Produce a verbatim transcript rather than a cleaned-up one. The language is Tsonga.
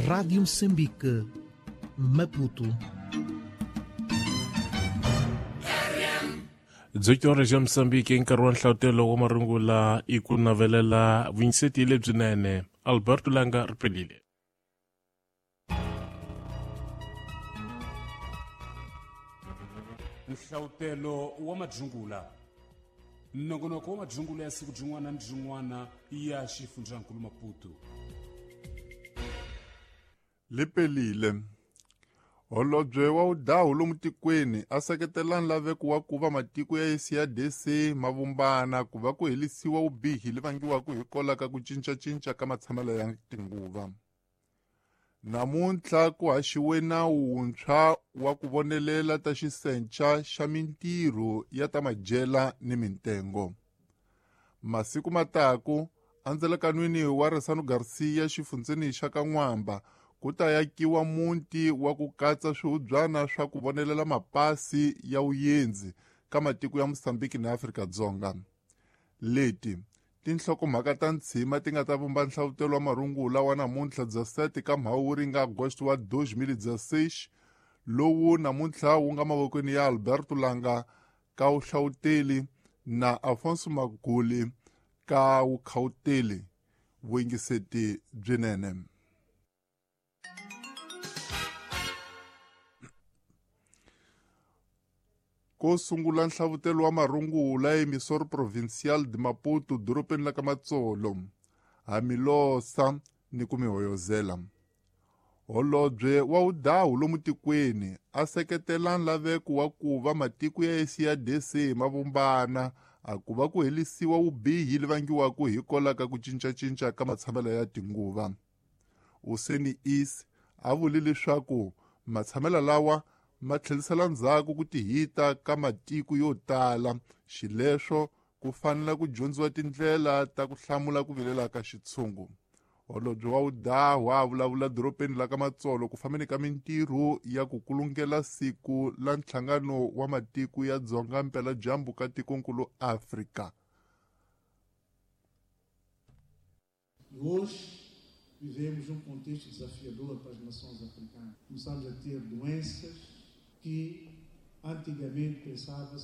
Rádio Moçambique, Maputo. dezoito horas ya Moçambique i nkarhi wa nhlavutelo wa marungula i ku navelela vunyiseti lebyinene. Alberto Langa ri pelile. Nhlavutelo wa madzungula, nongonoko wa madzungula ya siku byin'wana ni byin'wana ya xifundzankulu Maputo. Lipelile. Holobye wa Udawu lomu tikweni a seketela nlaveko wa ku va matiko ya S A D C ma vumbana ku va ku helisiwa vubihi lebyi vangiwaka hi kola ka ku cincacinca ka matshamelo ya tinguva. Namuntlha ku haxiwe nawu wuntshwa wa ku vonelela ta xisenca xa mintirho ya ta madyela ni mintengo. Masiku mataku endzelekanwini wa Resano Garcia xifundzeni xa ka N'wamba ku ta yakiwa muti wa ku katsa swihubyana swa ku vonelela mapasi ya vuyendzi ka matiko ya Mozambique na Afrika-Dzonga. Leti tinhlokomhaka ta ntshima ti nga ta vumba nhlavutelo wa marungula wa namuntlha dezessete ka Mhawuri nga Agosto wa dois mil e dezesseis, lowu namuntlha wu nga mavokweni ya Alberto Langa ka vuhlawuteli na Afonso Maguli ka vukhawuteli. Vuyingiseti byinene. Ko sungula nhlavutelo wa marungula emisor provincial de Maputo dorobeni la ka Matsolo, Hamilosa ni ku mihoyozela. Holobye wa Udawu lomu tikweni a seketela nlaveko wa ku va matiko ya S A D C ma vumbana a ku va ku helisiwa vubihi lebyi vangiwaka hi kola ka ku cincacinca ka matshamelo ya tinguva. Useni Is a vule leswaku matshamelo lawa ma tlherisela ndzhaku ku tihita ka matiko yo tala, xileswo ku fanele ku dyondziwa tindlela ta ku hlamula ku vilela ka xitshungu. Holobye wa Udawu a vulavula dorobeni la ka Matsolo ku fambeni ka mintirho ya ku kulungela siku la nhlangano wa matiko ya Dzonga Mpeladyambu ka tikonkulu Afrika. Hoje vivemos um contexto desafiador para as nações africanas. Começamos a ter doenças que antigamente pensava-se